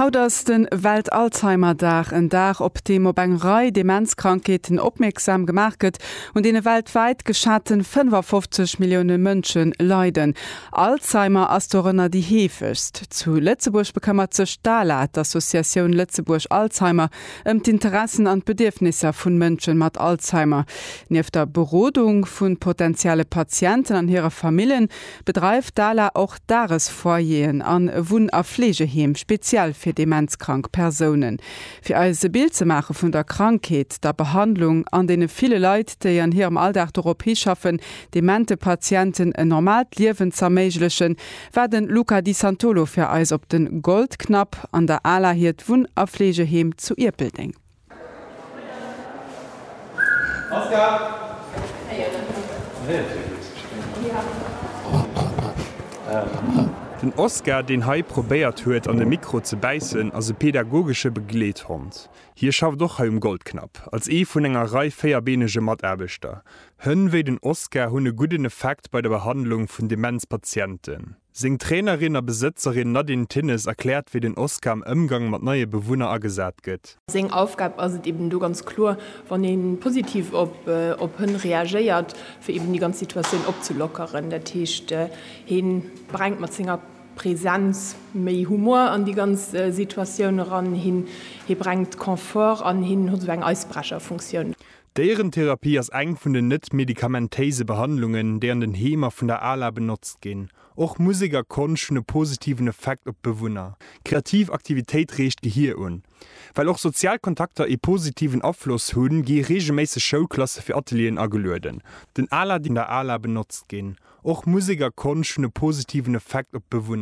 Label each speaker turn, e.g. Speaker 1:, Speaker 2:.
Speaker 1: Haut ass de Welt-Alzheimer-Dag, en Dag, op deem op eng Rei Demenzkrankheeten opmierksam gemaach gëtt, un deene weltwäit geschaten 55 Millioune Mënsche leiden. Alzheimer ass dorënner déi heefegst. Zu Lëtzebuerg bekëmmert sech d'ALA, d'Associatioun Lëtzebuerg Alzheimer, ëm d'Interessen an d'Bedierfnisser vun Mënschen mat Alzheimer. Nieft der Berodung vu potentielle Patienten an hire Famillen, bedreift d'ALA och Dagesfoyeren an Wunn a Fleegeheem speziell fir demenzkrank Persounen. Fir eis e Bild ze maache vun der Krankheet, der Behandlung an deene ville Leit, déi an hirem Alldag dorop hischaffen, demente Patienten en normaalt Liewen z'erméiglechen, war den Luca Di Santolo fir eis op den Goldknapp an der ALA hiert Wunn a Fleegeheem zu Ierpeldeng.
Speaker 2: Den Oscar, deen hei probéiert huet an de Mikro ze bäissen, ass e pedagogesche Begleethond. Hie schafft och hei um Goldknapp, als ee vun enger Rei véierbeenege Mataarbechter. Hënn wéi den Oscar hunn e gudden Effekt bei der Behandlung vun Demenzpatienten. Seng Trainerin a Besëtzerin Nadine Thinnes erkläert wéi den Oscar am Ëmgang mat neie Bewunner agesat gëtt.
Speaker 3: Seng Aufgab ass et eben do ganz kloer, wann ee positiv op Hënn reagéiert, fir eben déi ganz Situatioun opzelockeren. Dat heescht, hie brengt mat senger Presenz méi Humor an déi ganz Situatioun eran, hie brengt Confort an hien huet esou eng Eisbrecherfunktioun.
Speaker 2: D'Déierentherapie ass eng vun den net-medikamentéise Behandlungen, déi an den Heemer vun der ALA benotzt ginn. Och Musek a Konscht hunn e positiven Effekt op d'Bewunner. Kreativ Aktivitéit reegt d'Gehier un. Well och sozial Kontakter ee positiven Afloss hunn, gi reegelméisseg Schoulklasse fir Atelieren agelueden. Den ALA. Vun der ALA benotzt ginn. Och Musek a Konscht hunn e positiven Effekt op d'Bewunner.